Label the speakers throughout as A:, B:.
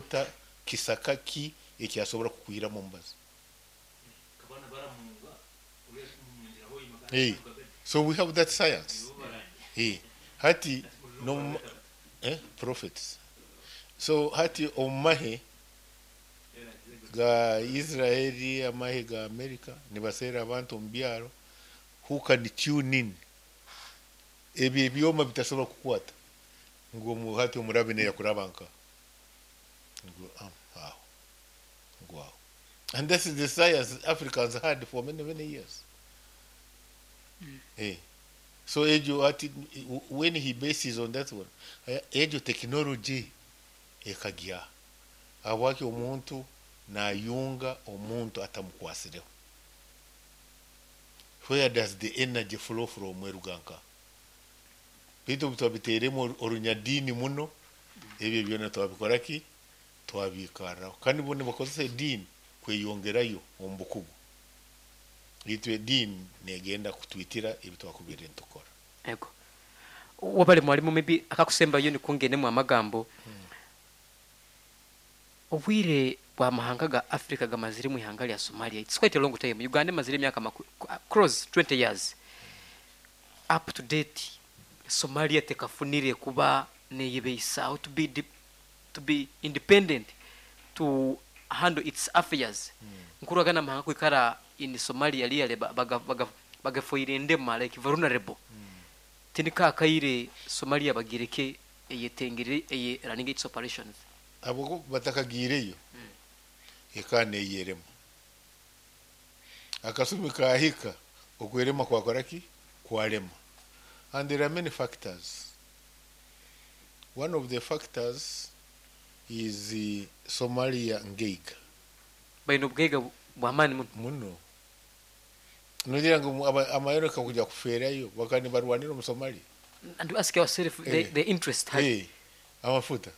A: Ota kisaka ki eki asobora kukwihiramu omubazi? Hey, so we have that science. Hey, hati no prophets. So hati omu mahe ga Israeli, amahe ga America nibaseera abantu omu byaro who can tune in ebyo ebyoma bitasobora kukwata ngu omu hati omurabi neyakuraba nka ngu aho ngu aho and that is the science Africans had for many many years. Eh. So egyo hati when he bases on that one, egyo technology ekagya. Ahabwaki omuntu nayunga omuntu atamukwasireho? Where does the energy flow from eruga nkaha? Beitu obu twabiteiremu orunyadiini muno, ebyo byona twabikora ki? Twabiikarraho. Kandi bo nibakozesa ediini kweyongerayo omu bukugu. Itwe ediini negenda kutwitira ebi twakubaire nitukora.
B: Ego. Wabare mwalimu maybe akakusembayo nikwo ngendemu amagambo. Obwire bwa mahanga ga Africa gamazire omu ihanga rya Somalia it's quite a long time. Uganda emazire emyaka close 20 years. Up to date Somalia tekafunire kuba neyebeisaho to be to be independent to handle its affairs. Nkurora ganu amahanga kwikara in Somalia really bagafoire endema like vulnerable. Tiniko akaire Somalia bagireke eyetengire eye running its operations.
A: Ahabw'okuba batakagiireyo, ekaba neyerema. Akasumi kaahika, okwerema kwakora ki? Kwarema. And there are many factors. One of the factors is Somalia ngaiga.
B: Baine obugaiga bw'amaani muno.
A: Muno. Nogira ngu Abamerika kuija kufeerayo bakaba nibarwanira omu Somalia?
B: And we ask ourselves the interest hati.
A: Amafuta.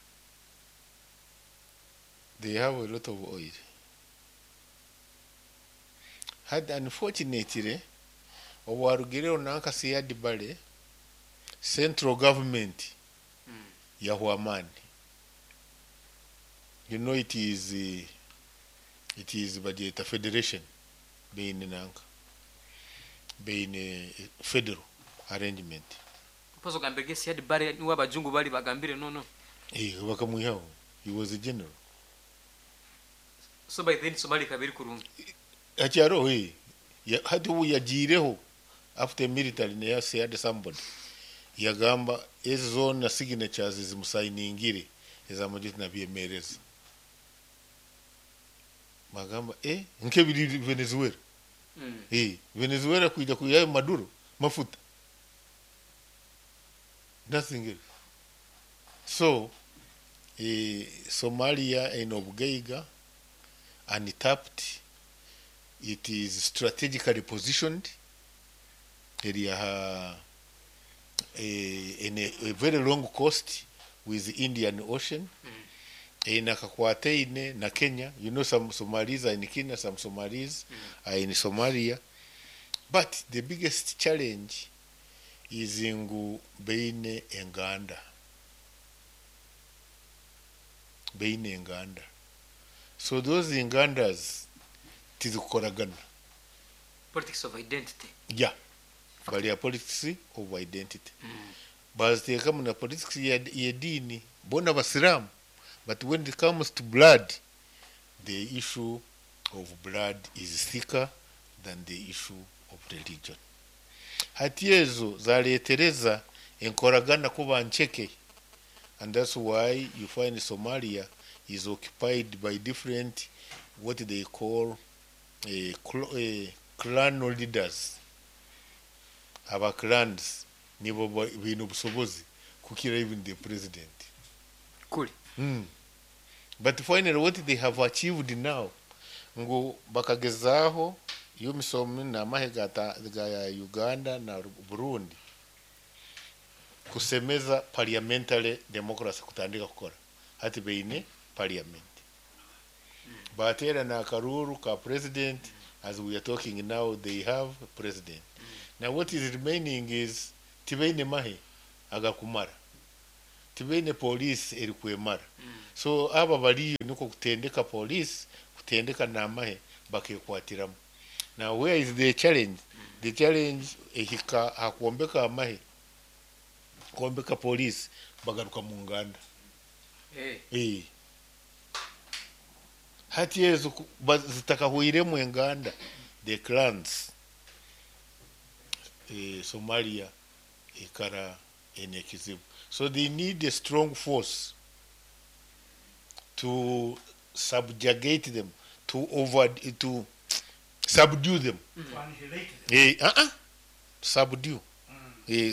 A: They have a lot of oil. Hati unfortunately obu harugireho nanka Siad Barre, central government yahwa amaani. You know it is bagyeta federation, baine nanka baine federal arrangement.
B: Mpozi ogambire ge Siad Barre niwe abajungu bari bagambire no.
A: Eh, bakamwihaho. He was a general.
B: So by then Somalia ekaba eri kurungi.
A: Akyariho eh. Hati obu yagiireho after military naye Siad somebody yagamba ezi zoona signatures zimusayiningire ez'amagye tinabyemereza. Bagamba nk'ebiri Venezuela. Eh, Venezuela kwija kwihayo Maduro mafuta. Nothing else. So Somalia eine obugaiga untapped, it is strategically positioned, eri aha in a very long coast with the Indian Ocean. Eine akakwataine na Kenya. You know some Somalis are in Kenya, some Somalis are in Somalia. But the biggest challenge is ngu baine enganda. Baine enganda. So those engandas tizikukoragana.
B: Politics of identity.
A: Yeah. Bari politics of identity. Baziteekamu na politics y'ediini. Boona Basiraamu. But when it comes to blood, the issue of blood is thicker than the issue of religion. Hati ezo zareetereza enkoragana kuba ncheke. And that's why you find Somalia is occupied by different, what they call clan leaders. Aba clans nibo baine obusobozi kukira even the president.
B: Kuri.
A: But finally what they have achieved now, ngu bakagezaaho UNAMISOM n'amahe ga Uganda na Burundi kusemeza parliamentary democracy kutandika kukora. Hati baine parliament. Bateerana akaruuru ka president. As we are talking now, they have president. Now what is remaining is tibaine mahe agakumara. Tibaine police erikwemara. So aba bariyo nikwo kutendeka police, kutendeka n'amahe bakekwatiramu. Now where is the challenge? The challenge ehika aha kwombeka amahe, kwombeka police bagaruka mu nganda. Eh. Hati ezo zitakahweiremu enganda, the clans, Somalia ekara eine ekizibu. So they need a strong force to subjugate them, to over, to subdue them.
C: To annihilate them.
A: Subdue.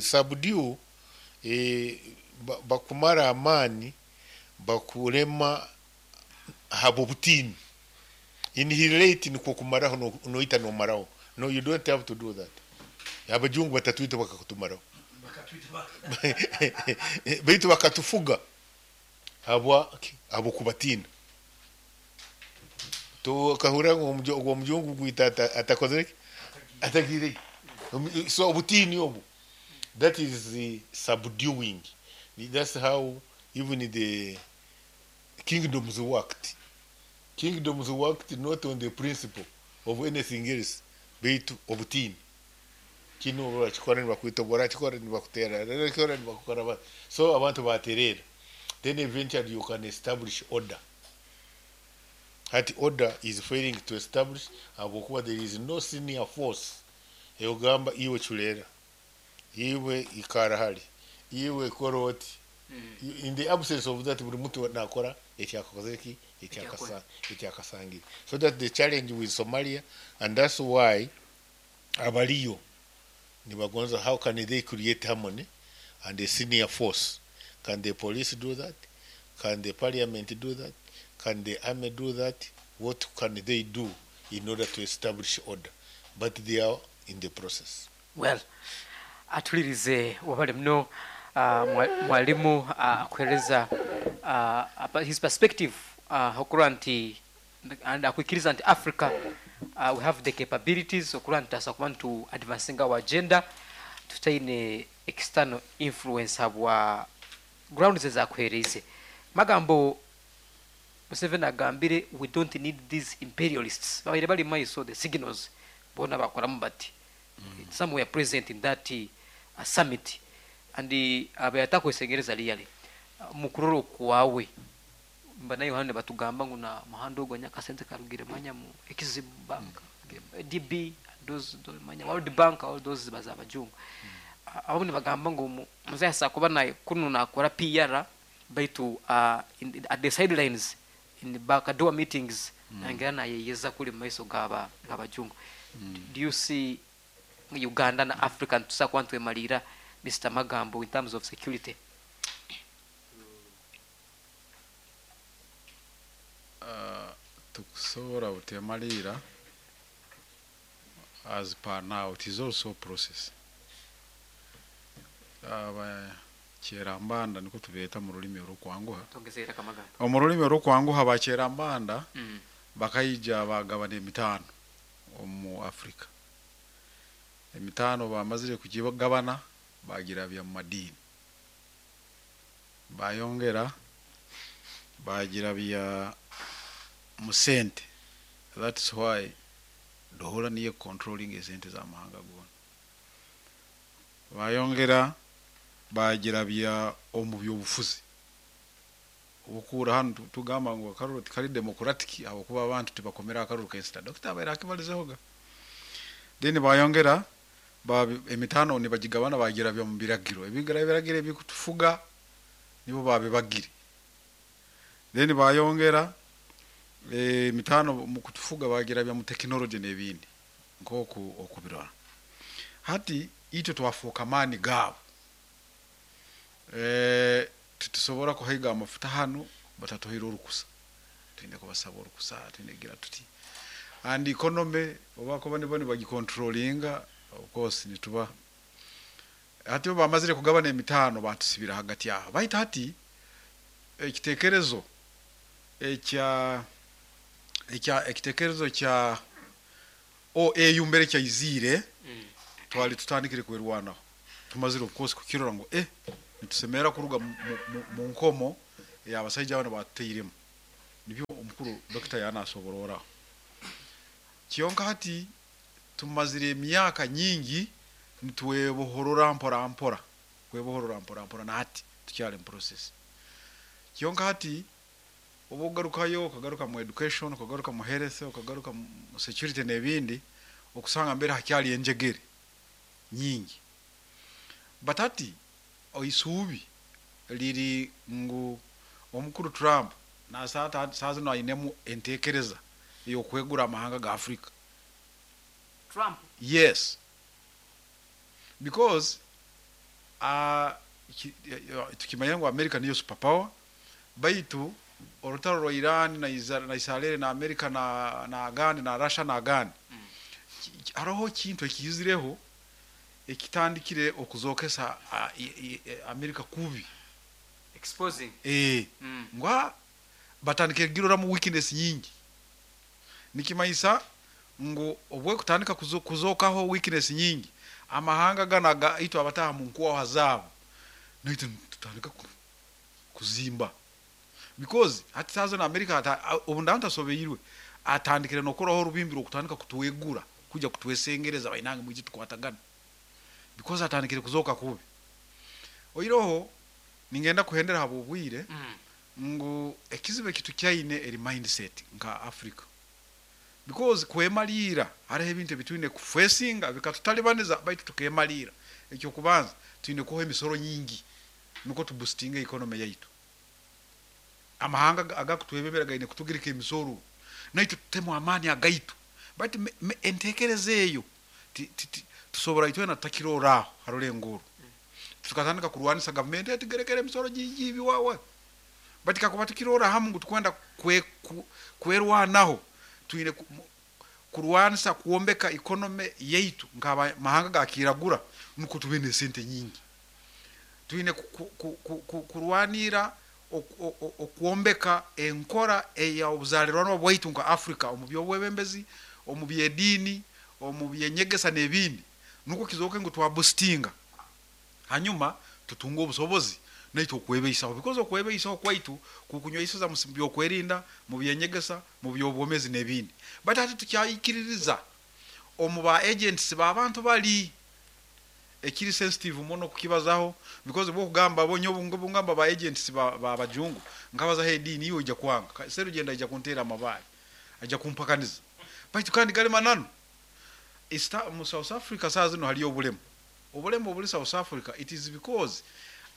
A: Subdue, bakumara amaani, bakurema ahabw'obutiini. Annihilate nikwo kumaraho noita nomaraho. No, you don't have to do that. Abajungu batatwita bakakutumaraho.
C: Bakatwita baka.
A: Baitu bakatufuga habw'okubatiina. Tukahurira ngu ogwo omujungu gwita atakozire ki? Atagiire. So obutiini obu, that is the subduing. That's how even the kingdoms worked. Kingdoms worked not on the principle of anything else, baitu obutiini. Kinu orakikora nibakwita, orakikora nibakuteera, orakikora nibakukora So abantu batereera. Then eventually you can establish order. Hati order is failing to establish habwokuba there is no senior force eyogamba iwe chuleera, iwe ikara hali, iwe kora oti. In the absence of that, buri muntu nakora ekyakakozire ki? Ekyakasangire. So that the challenge with Somalia, and that's why abaliyo nibagonza how can they create harmony and a senior force. Can the police do that? Can the parliament do that? Can the army do that? What can they do in order to establish order? But they are in the process.
B: Well, atulirize wabale muno mwalimu akuhereza his perspective okurora nti and akwikiriza nti Africa we have the capabilities okurora nti tusobora kuba nitu advancing our agenda tutaine external influence habwa grounds ezakuhereize. Magambo Museveni agambire, we don't need these imperialists babaire bali maiso, the signals bona bakoramu bati some were present in that summit and abayatakwesigereza really mukurora okwawe mba Yohane batugamba ngu na muhanda ogwo nyakasente karugire manya mu Exim Bank, DB, those manya World Bank, all those baza abajungu. Abamu nibagamba ngu muzaya kuba naye kuno nakora PR, baitu at the sidelines, in the back door meetings, nangera nayeyeza kuli mu maiso gaba gabajungu. Do you see Uganda na Africa tusa kuba ntwemalira, Mr Magambo, in terms of security?
D: Tukusobola butemalira as per now. It is also a process. Abakyerambanda niko tubeeta mu rulimi orukwanguha.
B: Tongezera kamagambo.
D: Omu rulimi orukwanguha, bakyerambanda bakaija bagabana emitaano omu Africa. Emitaano bamazire kugigabana, bagirabya mu madiini, bayongera bagirabya mu sente. That's why dola niyo controlling esente z'amahanga goona. Bayongera bagirabya omu byobufuzi. Obukura hanu tugamba ngu akaruru tikari democratic ahabwokuba abantu tibakomera akaruru kensita. Dokita abaire akibalizehoga. Then bayongera emitaano nibagigabana, bagirabya mu biragiro. Ebiragiro ebikutufuga nibo babibagire. Then bayongera emitaano mu kutufuga, bagirabya mu technology n'ebindi nk'oku okubirora. Hati itwe twafuuka maani gaabo. Titusobora kuhaiga amafuta hanu batatuhaire orukusa. Twine kubasaba orukusa, twine gira tuti and economy oba kuba nibo nibagicontrollinga. Of course nituba hati bo bamazire kugabana emitaano, batusibira hagati aho. Baitu hati ekitekerezo ekya ekitekerezo kya OAU mbere kyaizire, twali tutandikire kwerwanaho. Tumazire of course kukirora ngu Nitusemerra kuruga mu nkomo ey'abasaija banu batutairemu. Nibyo omukuru dokita yanasobororaho. Kyonka hati tumazire emyaka nyingi nitwebohorora mpora mpora, kwebohorora mpora mpora, na hati tukyali mu process. Kyonka hati obu ogarukayo, okagaruka mu education, okagaruka mu health, okagaruka mu security n'ebindi, okusanga mbere hakyali enjegere nyingi. But hati oisuubi liri ngu omukuru Trump saa zinu ainemu entekereza ey'okwegura amahanga ga Africa.
B: Trump?
D: Yes. Because tukimanyire ngu America niyo super power, baitu orutaro rwa Iran na Israel na America na agandi na Russia na agandi, haroho ekintu ekiizireho ekitandikire okuzokesa America kubi.
B: Exposing.
D: Ngu batandikire kugiroramu weakness nyingi. Nikimanyisa ngu obwekutandika kuzokaho weakness nyingi, amahanga gana itwe abataha mu nkwaha zaabo, naitwe tutandika kuzimba. Because hati saaha na America obu ndaba ntasobeirwe, atandikire n'okukoraho orubimbi rw'okutandika kutwegura, kwija kutwesengereza bainange mwije tukwatagane. Because atandikire kuzooka kubi. Oiroho ningenda kuhendera habw'obwire ngu ekizibu eki tukyaine eri mindset nka Africa. Because kwemaliira hariho ebintu ebi twine kufesinga bikatutalibaniza, baitu tukemaliira. Ekyokubanza, twine kuha emisoro nyingi nukwo tuboostinge economy yaitu. Amahanga agakutwebembera gaine kutugirika emisoro, naitwe tutemu amaani agaitu. Baitu entekereza eyo tusobora itwena tutakiroraaho harulengo oru. Tukatandika kurwanisa gavumenti etugerekere emisoro nyingi ebiwawa. Baitu kakuba tukirora hamu ngu tukwenda kwerwanaho, twine kurwanisa kwombeka economy yaitu nk'amahanga gakiragura nukwo tube n'esente nyingi. Twine kurwanira okwombeka enkora ey'obuzaalirwanwa bwaitu nka Africa omu by'obwebembezi, omu by'ediini, omu by'enyegesa n'ebindi, nukwo kizooke ngu twaboostinga. Hanyuma tutunge obusobozi naitwe okwebeisaho, because okwebeisaho kwaitu kukunyweiseza mu by'okwerinda, mu by'enyegesa, mu by'obwomezi n'ebindi. Baitu hati tukyaikiririza omu ba agents b'abantu bali ekiri sensitive muno kukibazaho, because bwokugamba bonye obungamba ba agents ba bajungu nkabazaho ediini iwe ojja kwanga, Serugendo aija kunteera amabaare, aija kumpakaniza. Baitu kandi gali mananu. Mu South Africa saa zino haliyo obulemu. Obulemu obuli South Africa, it is because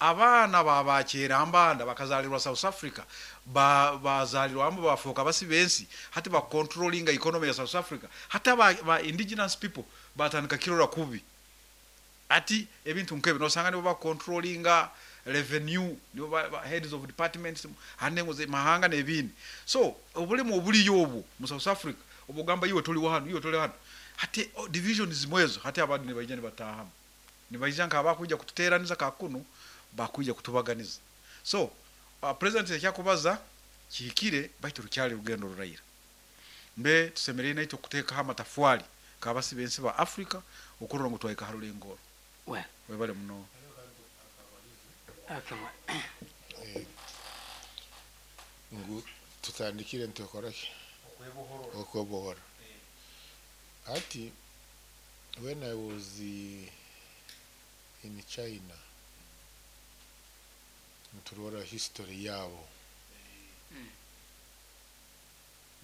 D: abaana babakyerambanda bakazalirwa South Africa, bazalirwamu bafuuka basi b'ensi, hati bakontrolinga economy ya South Africa. Hati ba indigenous people batandika kirora kubi. Ati ebintu nk'ebyo nosanga nibo bakontrolinga revenue, nibo ba heads of departments hande ngo mahanga n'ebindi. So obulemu obuliyo obwo mu South Africa, obugamba iwe toli hano, iwe toli hano. Hati divisions zimwezo, hati abandi nibaija nibatahamu. Nibaija nk'abakwija kututeeraniza kakuno, bakwija kutubaganiza. So president ekyakubaza kihikire, baitu rukyali rugendo ruraira. Mbe tusemereire naitwe kuteekaho amatafwari nk'abasi b'ensi ba Africa okurora ngu twahika ha rulengo orwo.
B: Well.
D: Webale muno.
B: Okay.
A: Ngu tutandikire nitwekora ki? Okwebohora. Hati when I was in China, nturora history yabo.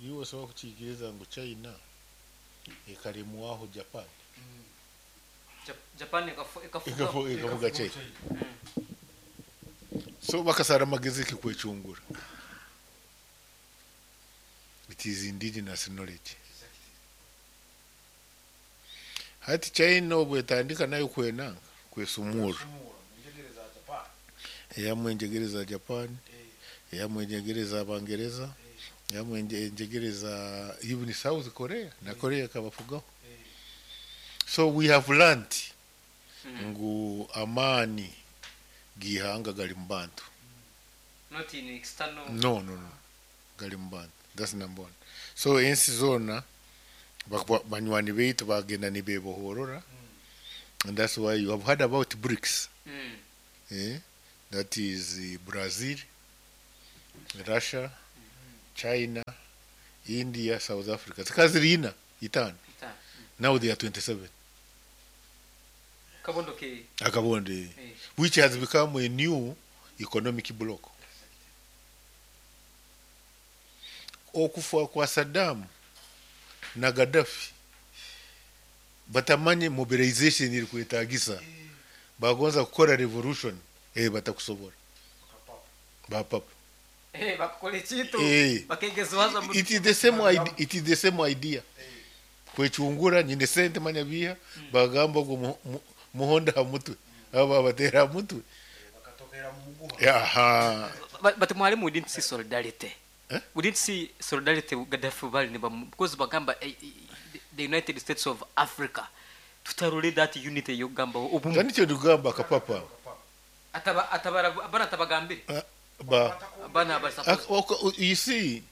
A: Iwe osobola kukiikiriza ngu China ekalemwaho Japan?
B: Japan ekafuga.
A: Ekafuga China. So bakasara amagezi ki kwecungura. It is indigenous knowledge. Hati China obwo etandika nayo kwenanga kwesumura, eyamwe enjegere za Japan, eyamwe enjegere za Bangereza, eyamwe enjegere za even South Korea, na Korea ekabafugaho. So we have learned ngu amaani g'ihanga gali mu bantu.
B: Not in external.
A: No, no, no, gali mu bantu. That's number one. So ensi zoona banywani baitu bagenda nibebohorora, and that's why you have heard about BRICS. That is Brazil, Russia, China, India, South Africa. Zikaba ziri ina, itaano.
B: Itaano.
A: Now they are 27.
B: Kabondo ke
A: Akabondo,
B: Eh.
A: which has become a new economic bloc. Okufa kwa Saddam na Gaddafi batamanye mobilization eri kwetagisa, bagonza kukora revolution, batakusobora bapapa.
B: Bakakora ekintu bakegeziwaza mu
A: It is the same idea, it is the same idea. Kwecungura nyine sente manya biha bagamba ngo muhonda ha mutwe, aba babatera ha mutwe.
D: Bakatokera mu muguha.
A: Aha.
B: But mwalimu, we didn't see solidarity.
A: Eh?
B: We didn't see solidarity Gaddafi bali ne because bagamba the United States of Africa, tutarole that unity yogamba obumu.
A: Kandi icyo ndikugamba akapapa.
B: Ataba atabara bana tabagambire.
A: Ba
B: bana ba suppose.
A: You see,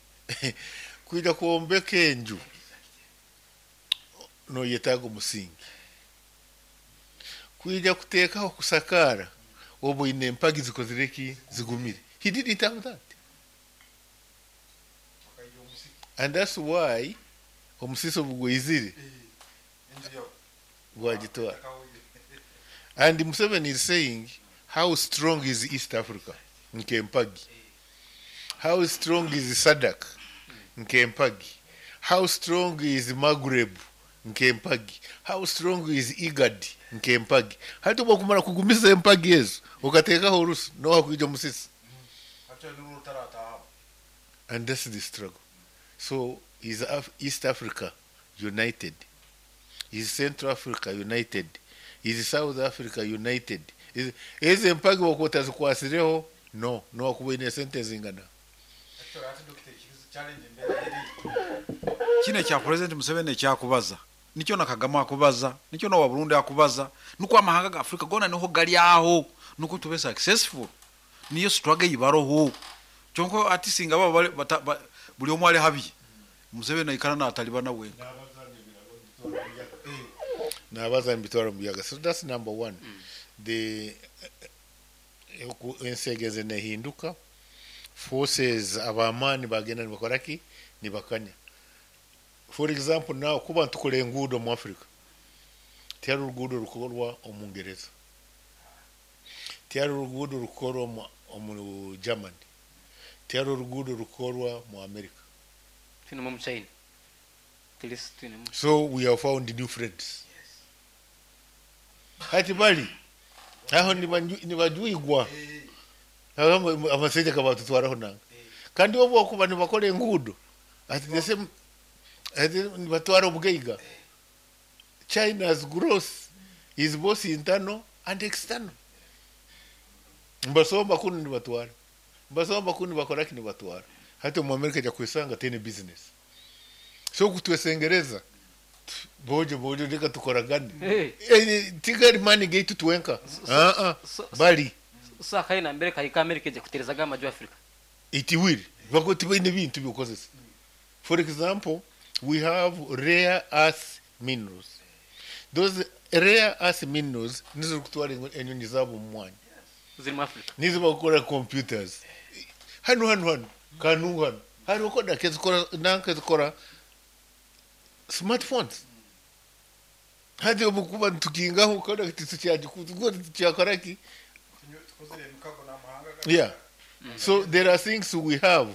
A: kwija kwombeka enju noyetaaga omusingi, kwija kuteekaho kusakaara obu oine empagi zikozire ki zigumire. He didn't have that, and that's why omusisi obu gwizire gwagitwara. And Museveni is saying, how strong is East Africa? Nkempagi. How strong is SADC? Nkempagi. How strong is Maghreb? Nkempagi. How strong is IGAD? Nkempagi. Hati obu kugumiza empagi ezo okateekaho orusu noha kwija omusisi. And that's the struggle. So is East Africa united? Is Central Africa united? Is South Africa united? Is ezo empagi wakuba otazikwasireho no nowakuba oine sente zingana.
D: Kino ekya President Museveni ekyakubaza nikyo na Kagame akubaza, nikyo n'owa Burundi akubaza, nukwo amahanga ga Afrika gona niho gali aho nukwo tube successful, niyo struggle ibaroho. Kyonko ati singa baba bali buli omwe ali habi, Museveni aikara n'atalibana wenka.
A: Nabaza nibitwara mu biyaga. So that's number one. The ensegeze nehinduka, forces abamaani bagenda nibakora ki nibakanya. For example, now kuba ntukora enguudo mu Africa, tihariho oruguudo rukorwa omu Ngereza, tihariho oruguudo rukorwa omu Germany, tihariho oruguudo rukorwa mu America.
B: Twine mu China. At twine mu.
A: So we have found new friends. Hati bali aho nibajwigwa amasente kabatutwaraho nanga, kandi bo bokuba nibakora enguudo ati the same, ati nibatwara obugaiga. China's growth is both internal and external. Mbasomba kunu nibatwara, mbasomba kunu bakora ki nibatwara. Hati omu America ajya kwesanga tene business. So kutwesengereza bojo bojo reka tukoragane. Tigari mani gaitu twenka. Bali
B: So akaina mbere kahika America ije kuterezaga amaju Africa.
A: It will bako tibaine bintu byokozesa. For example, we have rare earth minerals. Those rare earth minerals nizo kutwara enyonyi zabo mu mwanya.
B: Ziri mu Africa.
A: Nizo bakora computers hano hano hano kanu hano hariho koda kezikora nanka zikora smartphones. Hati obukuba tukingaho koda tukyakora ki. Yeah, so there are things we have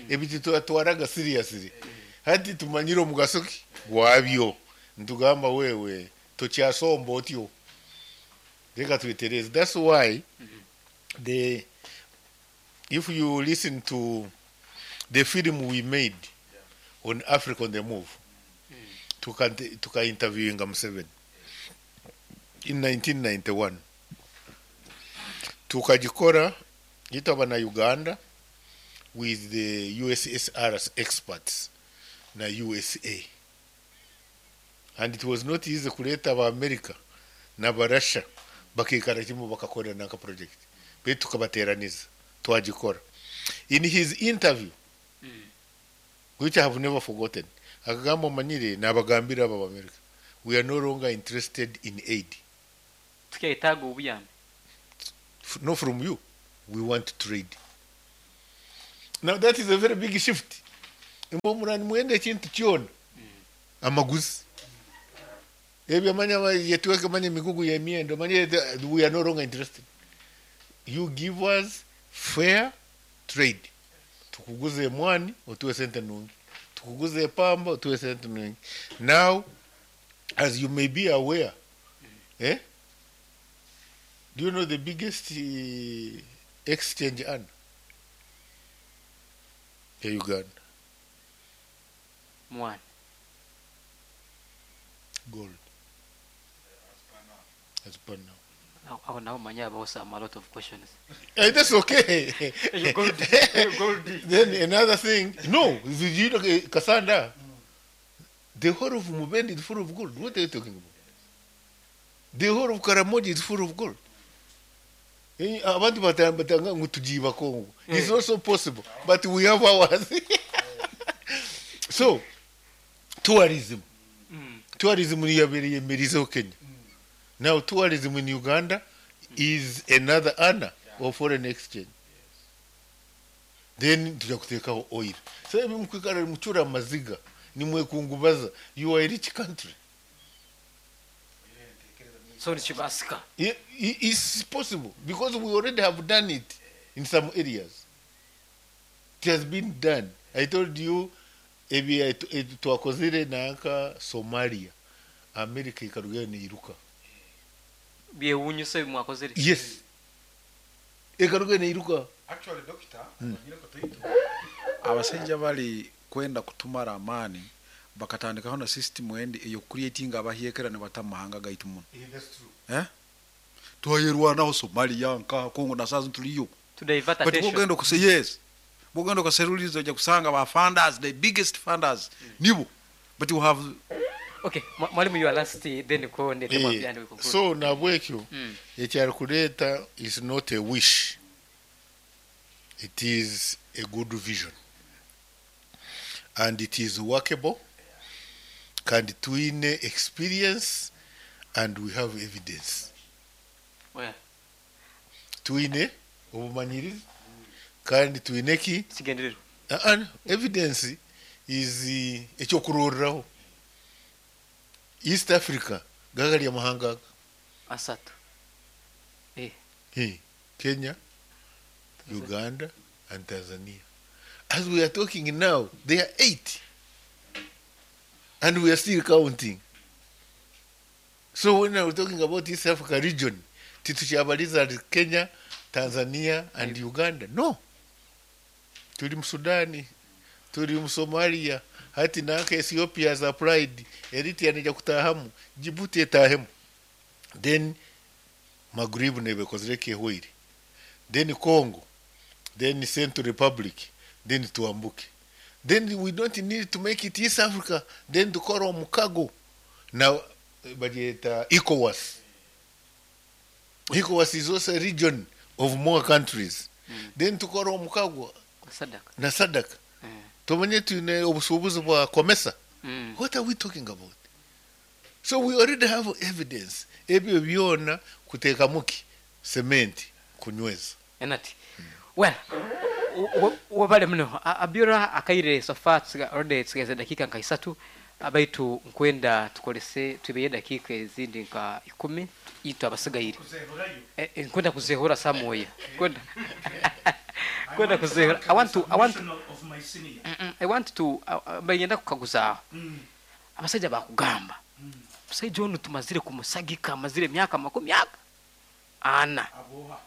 A: ebintu twatwaraga seriously, hati tumanyire omugaso ki gwabyo, ntugamba wewe tokyasomba otyo reka twetereze. That's why the if you listen to the film we made on Africa on the Move, tuka interviewinga Museveni in 1991, tukagikora yitaba na Uganda with the USSR experts na USA, and it was not easy kuleta aba America na ba Russia bakikara kimwe bakakorera naka project be tukabateraniza twagikora. In his interview, which I have never forgotten, akagamba manyire nabagambira aba America, we are no longer interested in aid.
B: Tukyaitaga obuyambi.
A: No, from you. We want trade. Now that is a very big shift. Imwe mura nimwenda ekintu kyona amaguzi. Ebyo manya yetweke manya emigugu y'emyenda manya we are no longer interested. You give us fair trade. Tukuguze emwani otuwe sente nungi. Tukuguze epamba otuwe sente nungi. Now as you may be aware, Do you know the biggest exchange earner? Ya Uganda.
B: Mwani.
A: Gold. As per now.
B: Aho naho manya habaho some a lot of questions.
A: That's okay.
B: You gold, you gold.
A: Then another thing, no, you know, Cassandra, the whole of Mubende is full of gold. What are you talking about? The whole of Karamoja is full of gold. Abantu batanga ngu tujiba Congo. It's also possible, but we have ours. So, tourism. Tourism yabereye merizo Kenya. Now, tourism in Uganda is another earner of foreign exchange. Then tuja kutekaho oil. So ebi mukwikara mucura amaziga nimwekungubaza. You are a rich country.
B: So nikibasika.
A: It's possible because we already have done it in some areas. It has been done. I told you ebi twakozire nanka Somalia. America ikarugayo neiruka.
B: Byewunyisa ebi mwakozire.
A: Yes. Ekarugayo neiruka.
D: Actually, doctor, abasajja bali kwenda kutumara amaani bakatandikaho na system endi eyo creating abahyekera ne bata mahanga gaitu muno.
A: Yeah, that's true.
D: Twayerwanaho Somalia nka Congo na sazi tuliyo.
B: To divert
D: But
B: attention.
D: bwogenda okuse yes. Bwogenda okaseruliza ojja kusanga ba funders, the biggest funders nibo. But you have
B: Okay, mwalimu you are last then ko ndete mwambia ndi conclude.
A: So nabwekyo ekyarikureeta is not a wish. It is a good vision. And it is workable. Kandi twine experience and we have evidence.
B: Well.
A: Twine obumanyirizi kandi twine ki?
B: Kigendererwa.
A: Evidence is ekyokuroreraho. East Africa gagari amahanga
B: asatu.
A: Kenya, Uganda and Tanzania. As we are talking now, they are 8. And we are still counting. So when we are talking about East Africa region, titukyabaliza Kenya, Tanzania and Uganda. No. Tuli mu Sudani, tuli mu Somalia, hati nanka Ethiopia has applied, Eritrea nija kutahamu, Djibouti etahemu. Then Maghrib nebekozire kehwire. Then Congo, then Central Republic, then tuambuke. Then we don't need to make it East Africa, then tukora omukago. Now bagyeta ECOWAS. ECOWAS is also a region of more countries. Then tukora omukago
B: Sadaka.
A: na Sadaka. Tumanye twine obusuubuzi bwa COMESA. What are we talking about? So we already have evidence. Ebyo byona kuteekamuki cement kunyweza.
B: Enati. Well, wabale muno Abiola akaire so far already tsigeze dakika nka isatu abaitu nkwenda tukolese tubeye dakika ezindi nka 10 itu abasigaire. Nkwenda kuzehura samoya. Nkwenda Kwenda kuzehura. I want to
C: of my senior.
B: I want to bayenda kukaguza. Abasajja bakugamba. Musajja ono tumazire kumusagika amazire myaka 40. Ana.
C: Aboha.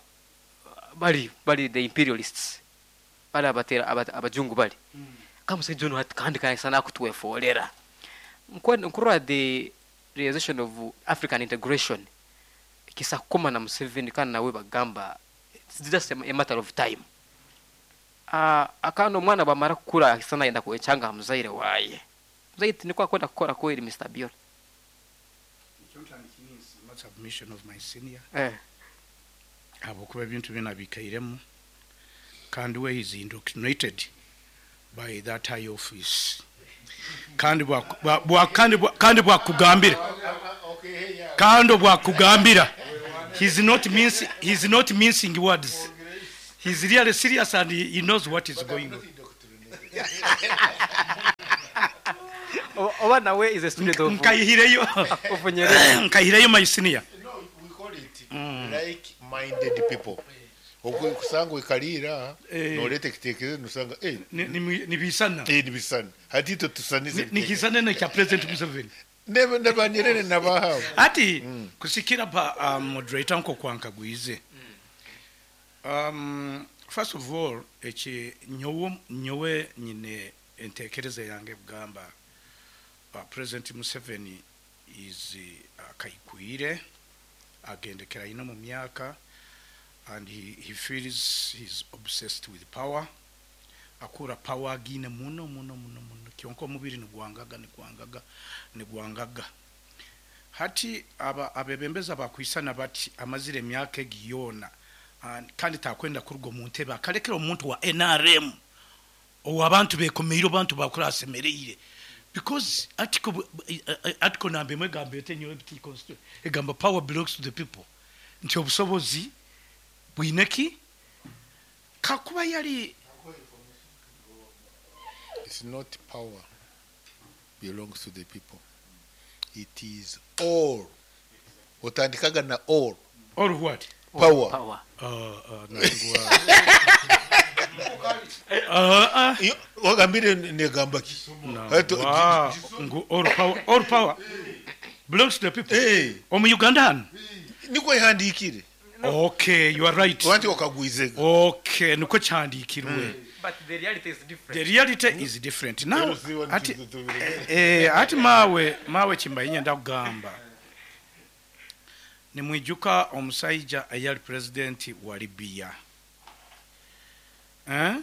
B: Bali the imperialists. Bali abatera abajungu bali. Kama musajja ono kandi kandi sana kutuwefolera. Nkurwa the realization of African integration. Kisa koma na Museveni kana nawe bagamba it's just a matter of time. Akano mwana bamara kukura sana yenda kuechanga muzaire waye. Muzaire niko akwenda kukora kweli Mr. Abiola.
C: Submission of my senior. Abokuba ebintu bina bikairemu kandi we is indoctrinated by that high office. Kandi kandi bwakugambira. Kandi bwakugambira. He's not mincing words. He's really serious and he knows what is going on.
B: Oba nawe is a student of
C: Nkayihireyo
B: of Nyerere.
C: Nkayihireyo my senior.
A: No, we call it like-minded people. Okusanga oikaliira
C: Eh.
A: noreeta ekiteekerezo nosanga eh,
C: Nibisana.
A: eh, nibisana hati itwe tusanize ebiteekerezo.
C: Nikisana nekya President Museveni.
A: Ne ba Nyerere nabahaabo.
C: Ati kusikira pa moderator nko kwankagwize. First of all, eki nyowe nyine entekereza yange kugamba President Museveni is akaikwire agendekera ino mu myaka and he feels he's obsessed with power. Akura power agine muno muno muno muno kyonka omubiri nigwangaga nigwangaga nigwangaga. Hati aba abebembeza bakwisana bati amazire emyaka egi yoona kandi takwenda kuruga omu ntebe akalekera omuntu wa NRM owabantu bekomeire abantu bakura asemereire because article namba emwe egamba ete nyowe biti constitution egamba power belongs to the people nti obusobozi bwine ki kakuba yali.
A: It's not power belongs to the people. It is all. Otandikaga na all.
C: All what?
A: Power.
B: Power.
C: Nangwa.
A: Iyo wagambire negamba ki?
C: Nangwa. Ngu all power, all power belongs to the people.
A: Eh,
C: Omu Uganda hano.
A: niko ihandikire.
C: Okay, you are right.
A: Wanti okagwizega.
C: Okay, niko kyandikirwe.
B: But the reality is different.
C: The reality is different. Now,
A: Eruziwa
C: ati, ati mawe kimbaye nyenda kugamba. Nimwijuka omusajja eyali president wa Libya. Eh?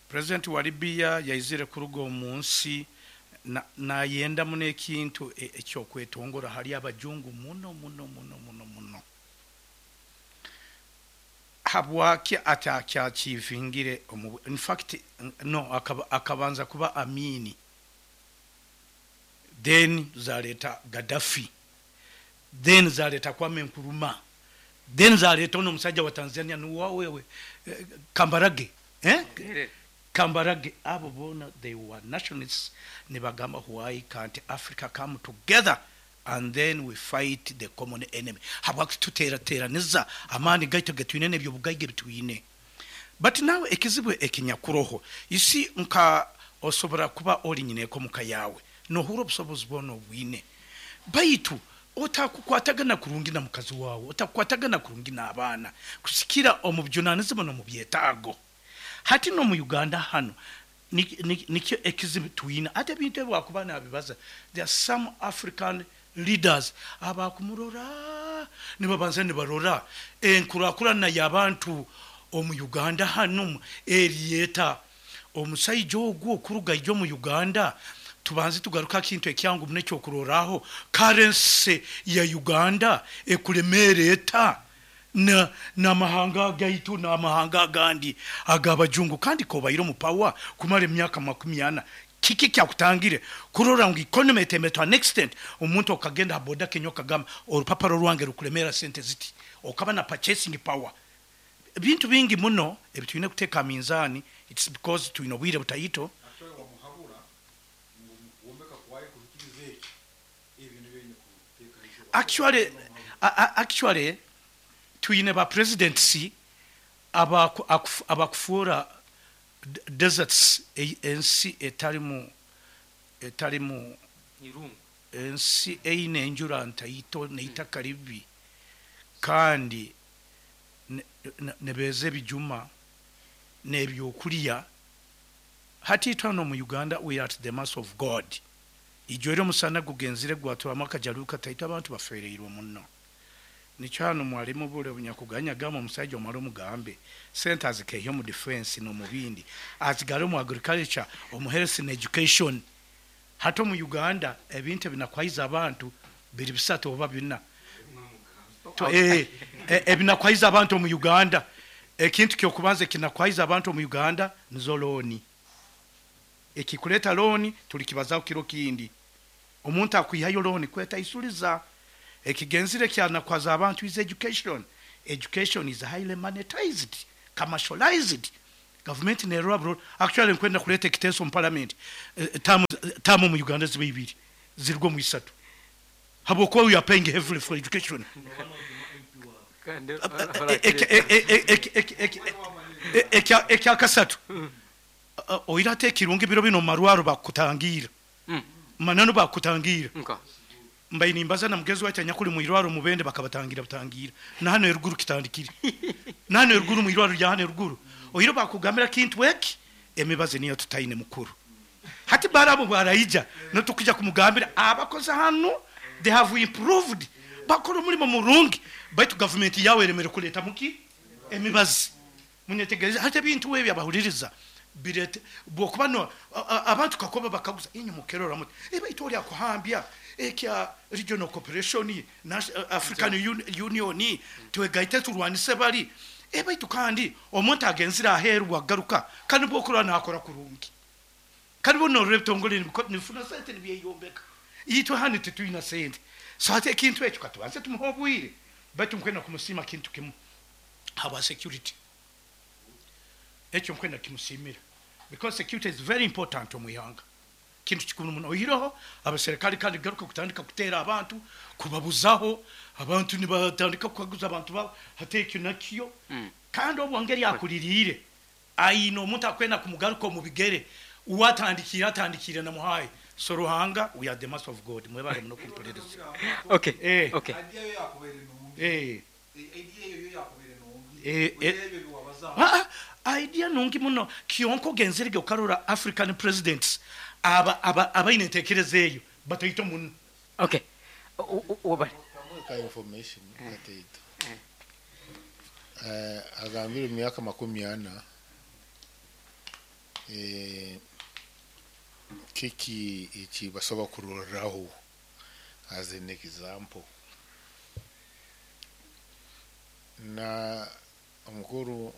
C: President wa Libya yaizire kuruga omu nsi nayenda muno ekintu ekyokwetongora hali abajungu muno muno muno muno muno. Habwaki atakyakivingire omu, in fact no akabanza kuba Amini, then zaleta Gaddafi, then zaleta Kwame Nkrumah, then zaleta ono omusajja wa Tanzania nuwa wewe Kambarage, eh? Kambarage. Abo bona they were nationalists nibagamba why can't Africa come together and then we fight the common enemy. Habwaki tuterateraniza amaani gaitu getwine n'ebyo bugaiga bitwine. But now ekizibu ekinyakuroho, you see, nka osobora kuba ori nyineko muka yawe nohura obusobozi bwona obwine, baitu otakukwatagana kurungi na mukazi wawe, otakukwatagana kurungi n'abaana kusikira omu bujunanizibwa n'omu byetaago. Hati no mu Uganda hano nikyo ekizibu twine. Ate ebintu ebi wakuba nabibaza, there are some African leaders abakumurora nibabanza nibarora enkurakurana y'abantu omu Uganda hano eriyeta omusaija ogwo okuruga ijo mu Uganda. Tubanze tugaruka kintu ekyangu muno ekyokuroraho currency ya Uganda ekulemera eta n'amahanga gaitu n'amahanga agandi ag'abajungu, kandi kobaire omu power kumara emyaka 40. Kiki kyakutangire kurora ngu economy etembe to an extent omuntu okagenda ha boda Kenya okagamba orupapuro rwange rukulemera sente ziti, okaba na purchasing power. Ebintu bingi muno ebitwine kuteeka minzani. It's because twine obwire butaito. Actually twine ba presidency abakufuura deserts ensi etalimu
B: Irungu.
C: Ensi eine enjura ntaito neitaka ribi kandi nebeze ebijuma n'ebyokulya. Hati itwano mu Uganda we are at the mercy of God. Ijo omusana gugenzire gwatwamu akajaluka taito abantu bafereirwe muno. Nikyo hano mwalimu bule bunyakuganya gamba omusajja omala omugambe sente azikeeyo mu defense no mu bindi, azigale mu agriculture, omu health and education. Hati omu Uganda ebintu ebinakwaiza abantu biri bisatu oba bina. Ebinakwaiza abantu omu Uganda, ekintu kyokubanza ekinakwaiza abantu omu Uganda nizo looni. Ekikuleta looni tulikibazaho kiro kindi. Omuntu akwihayo looni kwetaisuliza. Ekigenzire kyanakwaza abantu is education. Education is highly monetized. Commercialized. Gavumenti nerora burora. Actually nkwenda kureeta ekiteeso omu parliament, term term omu Uganda zibe ibiri zirugwe omu isatu habwokuba we are paying heavily for education. Ekyakasatu, oire hati ekirungi biro binu omu marwaro bakutangiira. Mananu bakutangiira. Mbaire nimbaza na mugenzi waitu anyakuli mu irwaro Mubende bakabatangira butangira. Na hanu eruguru kitandikire. Na hanu eruguru mu irwaro rya hanu eruguru. Oire bakugambira kintu eki, emibazi niyo tutaine mukuru. Hati Balaam obwaraija nitukwija kumugambira abakozi hanu they have improved, bakora omulimo murungi baitu gavumenti yawe eremere kuletamu ki? Emibazi. Munyetegereze hati ebintu ebi abahuliriza birete bwokuba no abantu kakuba bakaguza inywe mukerora muti baitu oli akuhambya ekya regional cooperation African Union twegaite turwanise bali baitu kandi omuntu agenzire aheru bwagaruka kandi bwokurora nakora kurungi kandi bo norora ebitongole nibifuna sente nibyeyombeka itwe hanu titwina sente so hati ekintu ekyo katubanze tumuhe obwire baitu nkwenda kumusiima kintu kimu habwa security. Ekyo nkwenda kimusiimira because security is very important omu ihanga. Kintu kikuru muno. Oihireho abaserikale kandi garuka kutandika kuteera abantu, kubabuzaho, abantu nibatandika kukaguza abantu babo, hati ekyo nakyo. Kandi obwo ngeri akuririire, aine omuntu akwenda kumugaruka omu bigere, uwe atandikiire atandikiire na muhaayi. So Ruhanga, we are the mercy of God. Mwebale muno kumpuliriza.
B: Okay.
C: Eh.
B: Okay.
D: Idea yo yakubaire nungi.
C: Eh.
D: Idea eyo yo yakubaire nungi.
C: Eh, eh.
D: Oihireho ebyo wabazaho.
C: Ah, idea nungi muno. Kyonka ogenzerege okarora African presidents aba aba abaine entekereza eyo bataito muno.
B: Okay. Wabale.
A: Ka information kataito. Agambire mu myaka 40, kiki eki basobola kuroraho as an example. Na omukuru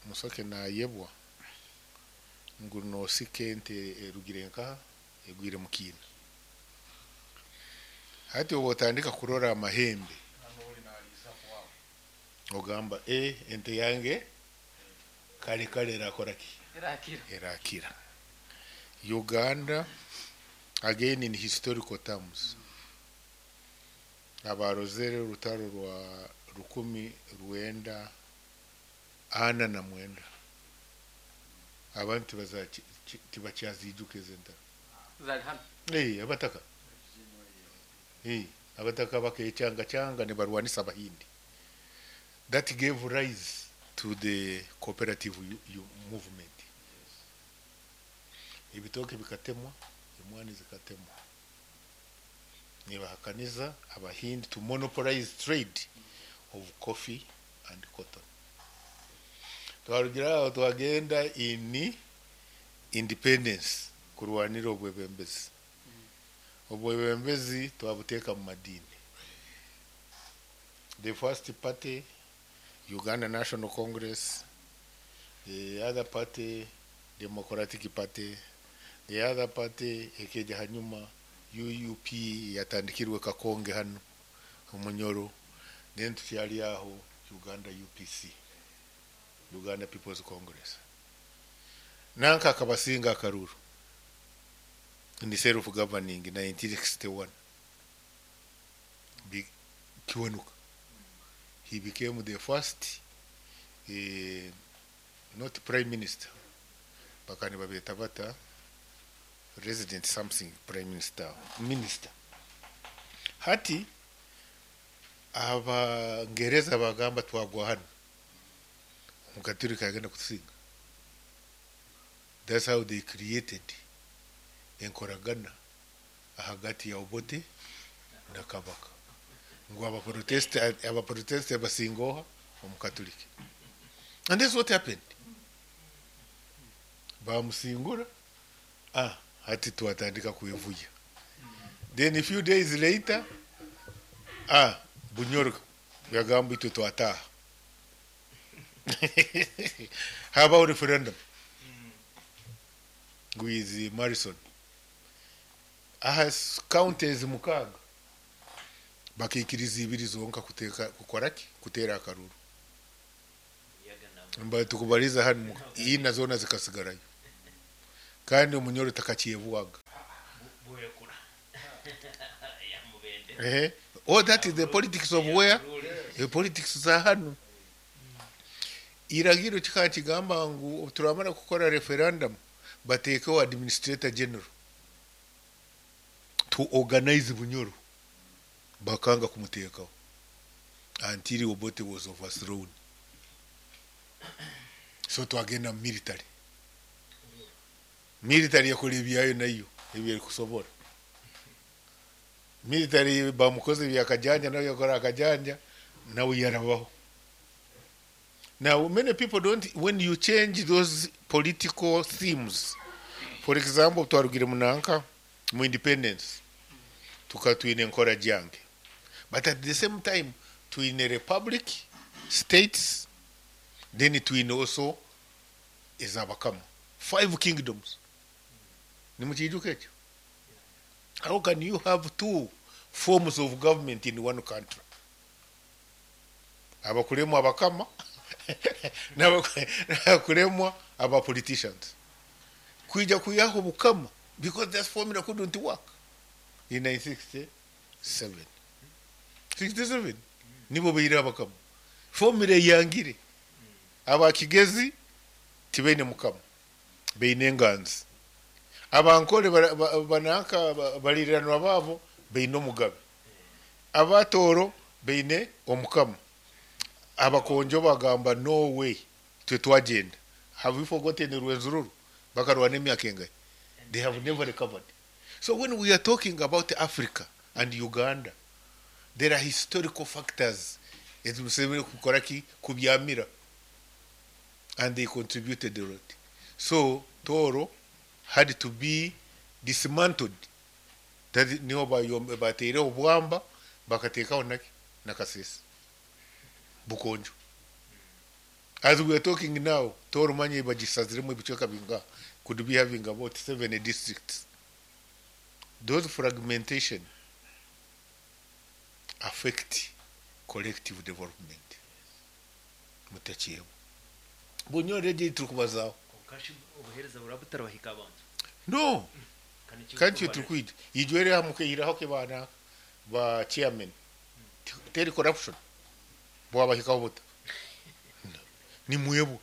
A: Musoke nayebwa ngu nosika ente erugire nkaha egwire mu kiina. Hati obu otandika kurora amahembe ogamba ente yange kale kale erakora ki?
B: Erakira.
A: Erakira. Uganda again in historical terms abarozere orutaro rwa 1949 abantu tibakyazijuka ezo entaro.
B: Zali hano.
A: Abataka. Abataka bakechanga changa nibarwanisa Abahindi. That gave rise to the cooperative movement. Ebitoke bikatemwa, emwani zikatemwa. Nibahakaniza Abahindi to monopolize trade of coffee and cotton. Twarugira aho twagenda in independence kurwanira obwebembezi. Obwebembezi twabuteeka mu madini. The first party, Uganda National Congress, the other party, Democratic Party, the other party ekeja hanyuma UUP yatandikirwe Kakonge hano Omunyoro, then tukyali aho Uganda UPC, Uganda People's Congress. Nanka akabasinga akaruru in self governing 1961. Kiwanuka. He became the first, not prime minister, bakani babeta bata resident something prime minister, minister. Hati Abangereza bagamba twagwa hano, Omukaturika agenda kutusinga. That's how they created enkoragana ahagati ya Obote na Kabaka. Ngu abaprotest basingoha Omukatuliki. And that's what happened. Bamusingura, hati twatandika kuevuya. Then a few days later, Bunyoro yagamba itwe twataha. How about referendum? With Morrison. Aha counties mukaga bakikiriza ibiri zonka kuteka kukora ki? Kutera akaruru. Mba tukubaliza hanu ina zoona zikasigarayo kandi omunyoro takakyebwaga. Ehe. Oh, that is the politics of where? The politics za hanu. Iragiro kikaba kigamba ngu turamara kukora referendum bateekeho administrator general to organize Bunyoro. Bakanga kumuteekaho until Obote was overthrown. So twagenda mu military. Military yakora ebyayo nayo ebyerikusobora. Military bamukoze byakajanja nawe yakora akajanja nawe yarabaho. Now many people don't, when you change those political themes, for example twarugire munanka mu independence tukatwine enkora gyange, but at the same time twine republic states, then twine also ezabakama 5 kingdoms. Nimukiijuka ekyo? How can you have 2 forms of government in one country? Abakuremwa abakama n'abakuremwa aba politicians. Kwija kuyaho bukama because that formula couldn't work in 1967. 67 nibo beire abakama. Formula yangire. Abakigezi tibene mukama. Beine nganzi. Abankole banaka baliranwa babo beine omugabe. Abatoro beine omukama. Abakonjo bagamba no way twe twagenda. Have you forgotten Rwenzururu? Bakarwana emyaka engahe? They have never recovered. So when we are talking about Africa and Uganda, there are historical factors ezimusemere kukora ki kubyamira, and they contributed a lot. So Toro had to be dismantled. That niho bateire obwamba bakateekaho naki nakasese bukonjo. As we are talking now, Toro manye bagisaziremu ebicweka binga could be having about 7 districts. Those fragmentation affect collective development. Mutakiyeho. Bunyoro eje turikubazaho.
E: Obuhereza burabutarabahika abantu.
A: No. Kanti tukwid. Ijwere hamukehiraho ke bana ba chairman. Teri corruption. Bwabahikaho buta. Ni mwebo.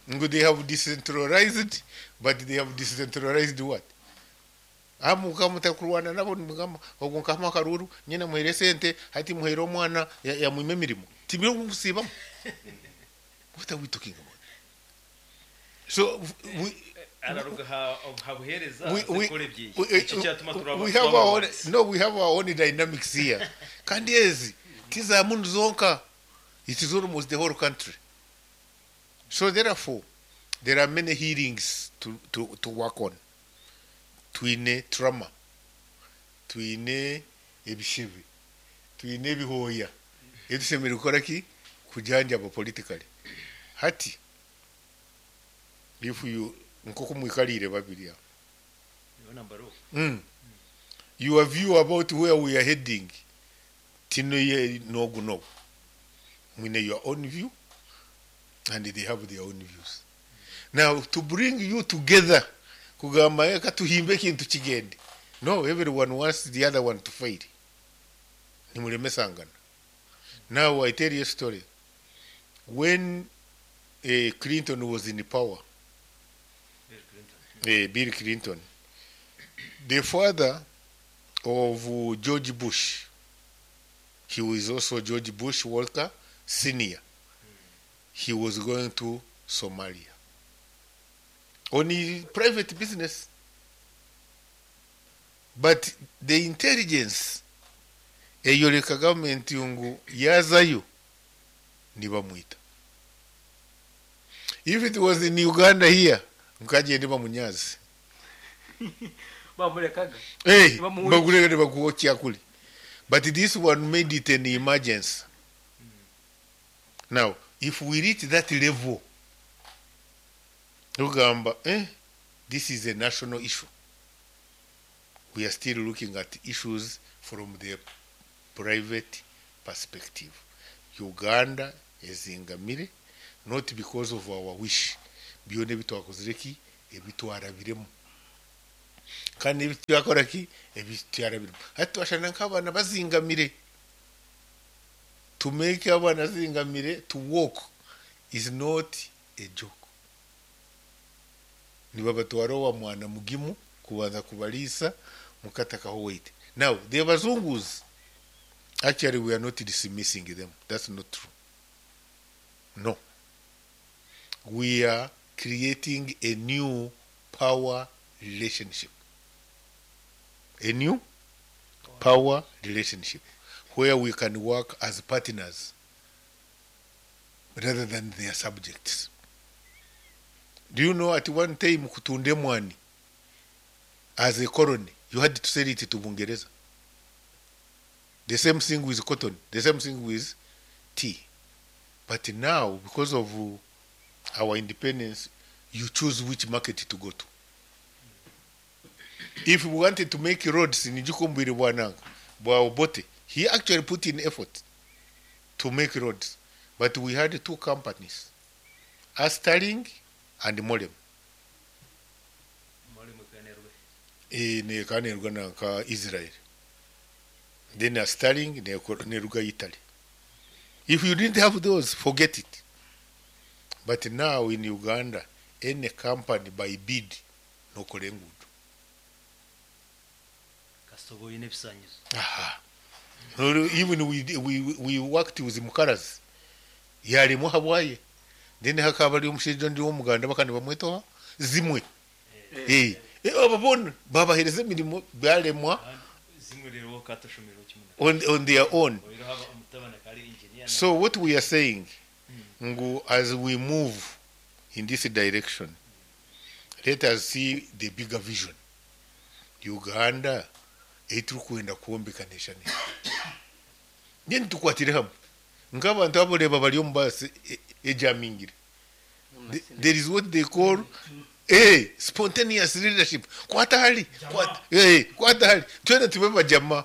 A: Ngo they have decentralized, but they have decentralized what? Amuka mutakurwana nabo nimugamba ogo nkama karuru nyina muhere sente hati muhere omwana ya mwime mirimo. Tibiro kusibamu. What are we talking about? So we have our own, no, we have our own dynamics here. Kandi ezi tiza mundu zonka, it is almost the whole country. So therefore there are many healings to work on. Twine trauma, twine ebishibi, twine ebihoya etusemere kukora ki kujanjaba politically. Hati if you nkoko mwikalire babiri aho, your view about where we are heading tino ye nogu nogu mwine your own view and they have their own views. Now to bring you together kugamba eka tuhimbe kintu kigende, no, everyone wants the other one to fail. Nimulemesangana. Now I tell you a story. When Clinton was in power, Bill Clinton, the father of George Bush, he was also George Bush Walker Senior. He was going to Somalia on his private business. But the intelligence eyoreka government ngu yazayo nibamwita. If it was in Uganda here, nkagende bamunyazi.
B: Bamurekaga.
A: Hey, bagureka bakuwokia kuli. But this one made it an emergency. Now, if we reach that level, Ugamba, this is a national issue. We are still looking at issues from the private perspective. Uganda ezingamire Not because of our wish. Byona ebi twakozire ki? Ebi twarabiremu. Kandi n'ebi twakora ki? Ebi twarabiremu. Hati twashana nk'abaana bazingamire. To make abaana zingamire to walk is not a joke. Nibabatwara owa mwana mugimu kubanza kubariisa mukatakaho weight. Now, the bazungus, actually we are not dismissing them. That's not true. No. We are creating a new power relationship. A new power relationship where we can work as partners rather than their subjects. Do you know at one time kutunda emwani as a colony, you had to sell it to Bungereza. The same thing with cotton, the same thing with tea. But now, because of our independence, you choose which market to go to. If we wanted to make roads in Njukumbiri Bwananga, Bwa Obote, he actually put in effort to make roads. But we had two companies, Astaling and Molem. Nekanerwa na nka Israel. Then Astaling neruga Italy. If you didn't have those, forget it. But now in Uganda, any company by bid nokora enguudo.
E: Kasita oine ebisanyizo.
A: Aha. No, even we worked with Mukarazi. Yarimu habwaye. Then hakaba ari omushaija ondi w'omuganda bakandi bamwetoha zimwe. Eh. Abo bona babahereza emirimo baremwa
E: Zimwe rero katashomero kimwe.
A: on their own.
E: Oiro haba omutabani akari engineer.
A: So what we are saying, ngu as we move in this direction, let us see the bigger vision. Uganda eiturikwenda kwombeka nation. Then tukwatire hamwe. Nk'abantu aboreba bari omu baasi ejamingire. There is what they call spontaneous leadership. Kwata hali. Kwata hali. Twena tube bajama.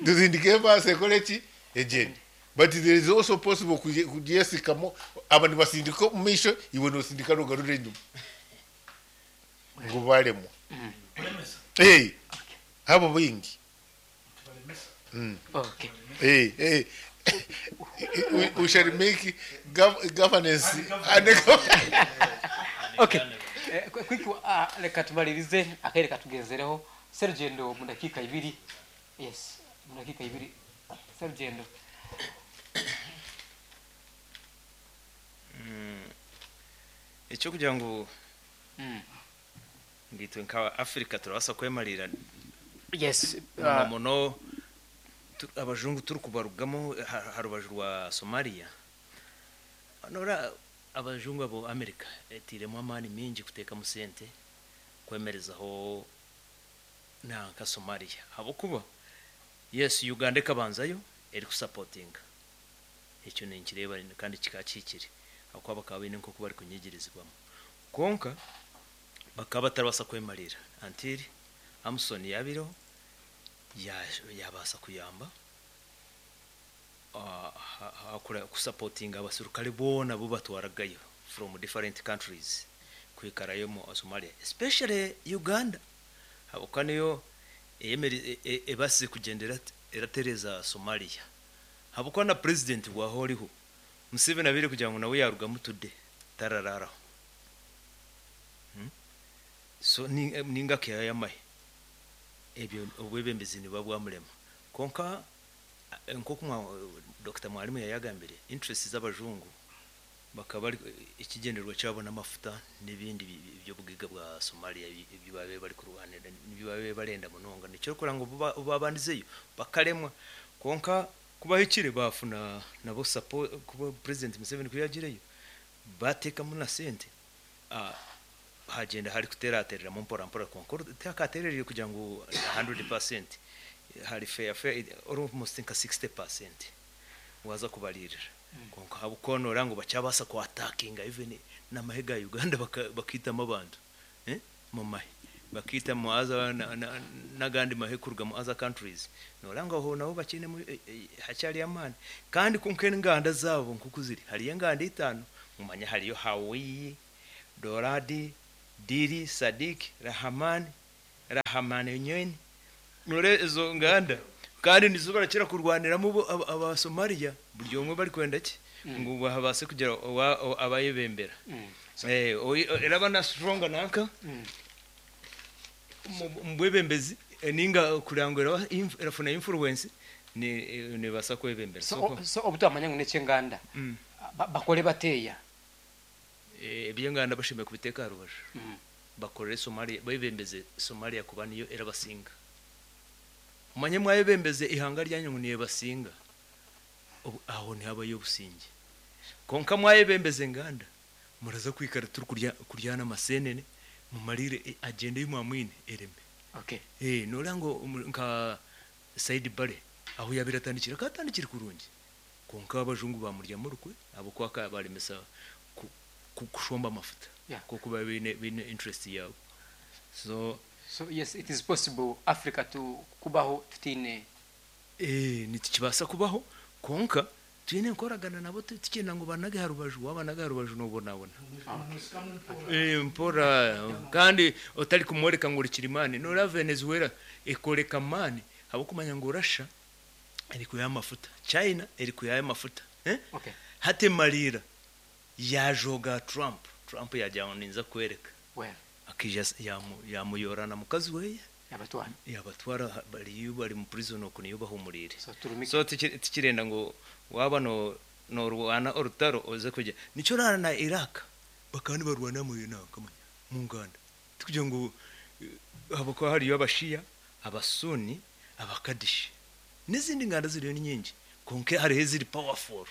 A: Tusindike baasi ekore ki? Ejeni. But there is also possible kujesikamo abantu basindika omu maisho iwe nosindika nogarura enyuma. Ngu baremwa. Abo baingi.
B: Okay.
A: We shall make governance and
B: Okay. Quick, reka tumalirize akaire katugenzereho. Serugendo mu dakika ibiri. Yes, mu dakika ibiri. Serugendo.
E: Ekyo kugira ngu ngitwe nka Africa turabasa kwemarira.
B: Yes,
E: muno abajungu turi kubarugamo harubaju rwa Somalia. Nora abajungu abo America etiremo amani mingi kuteka mu sente kwemerezaho na nka Somalia. Habokuba yes Uganda ekabanzayo eri kusupportinga. Ekyo ninkireba kandi kikakikire. Aho bakaba bine nko bari kunyigirizwamo. Konka bakaba batarabasa kwemarira until Amson yabiro yabasa kuyamba kusupportinga abasirikare bona bo batwaragayo from different countries kwikarayo mu Somalia, especially Uganda. Habuka niyo ebasi kugendera eratereza Somalia. Habuka na president wahoriho Museveni abire kugira ngo nawe yarugamu today tarararaho. So ninga kya yamahe ebyo obwebembezi nibabwamulema. Konka nko Dr. Mwalimu yayagambire interest z'abajungu bakaba ikigenderwa cyabo n'amafuta n'ibindi byo bugiga bwa Somalia ibyo babe bari kurwanira n'ibyo babe barenda munonga nicyo kora ngo babandizeyo bakaremwa. Konka kubahikire bafuna nabo support kuba President Museveni kuyagireyo batekamo na sente hagenda hari kuteraterera mu mpora mpora konka takaterereye kugira ngo 100% hari fair fair almost nka 60% waza kubalirira. Konka habukonora ngo bacyabasa ku attackinga even n'amahega ya Uganda bakitamo abantu mu mahe. Bakaita mu other n'agandi mahe kuruga mu other countries. Noreeba ngu aho nabo bakiinemu hakyariyo amaani. Kandi kwonka enganda zaabo nk'oku ziri, hariyo enganda itaano, mumanye hariyo Hawiyi, Doradi, Diri, Sadik, Rahaman, Rahamanenyen. Noreeba ezo nganda kandi nizo barakira kurwaniramu bo aba Somalia buri omwe barikwenda ki ngu babaase kugira abayebembera. Eraba na strong nanka omu bwebembezi ninga kureba ngu erafuna influence nebaasa kwebembera.
B: So obu twamanya ngu n'eky'enganda bakore bateeya?
E: Eby'enganda bashemereire kubiteeka aha rubaju bakorere Somalia, bebembeze Somalia kuba niyo erabasinga. Mumanye mwayebembeza eihanga ryanyu ngu neebasinga, aho nihabayo obusingye. Kwonka mwayebembeza enganda, muraza kwikara turi kuryana amaseenene, mumarire agenda ei mwamwine ereme. Nooreeba ngu nka Saidi Barre ahu yaabaire atandikire akaba atandikire kurungi, kwonka abajungu baamuryamu orukwe ahabw'okuba akabaremesa kushomba amafuta ahabw'okuba babaire baine interest yaabo. So.
B: So yes it is possible Africa to kubaho tutaine.
E: Eeh nikibaasa kubaho kwonka twine enkoragana nabo tikyenda ngu obanage aha rubaju, waabanaga aha rubaju noobonabona. Eeh mpora kandi otarikumworeka ngu ori kirimaani. Nooreeba Venezuela ekooreka amaani ahabw'okumanya ngu Russia erikwihayo amafuta, China erikwihayo amafuta. Hati emariira yaajooga Trump, Trump yaagira ngu ninza kukworeka. Akaija yaamuyoora na mukazi we yaabatwara bariyo bari mu prison okwo niyo bahumuriire. So tikirenda ngu waaba noorwana orutaro oze kugira. Nikyo oraara na Iraq bakaba nibarwana omu nganda tikugira ngu ahabw'okuba hariyo Abashia, Abasuni, Abakadishi n'ezindi nganda ziriyo ni nyingi kwonka hariho eziri powerful.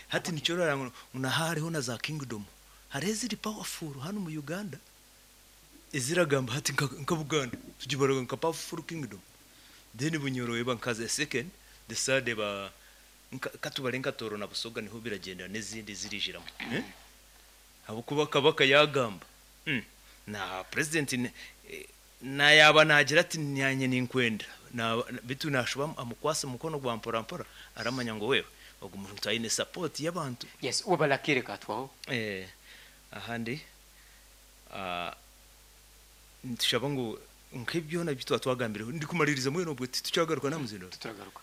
E: Hati nikyo oraara ngu naha hariho na za kingdom. Hariho eziri powerful hanu mu Uganda eziragamba hati nka Buganda tugibaraga nka powerful kingdom then Bunyoro eba nka the second, the third eba katubare nka Tooro na Busoga niho biragyendera n'ezindi ezirijiramu ahabw'okuba Kabaka yagamba na president Na yaaba naagira ati, Naanye ninkwenda, beitu naashuba amukwatse omukono gwa mporampora, aramanya ngu wewe ogu muntu aine support y'abantu.
B: Yes, webale akaire kaatwaho.
E: Ahandi nitushaba ngu nk'ebi byona ebi twaba twagambireho, ndikumariiriza mbwenu obwe titukyagaruka n'aha muzindaaro?
B: Tituragaruka.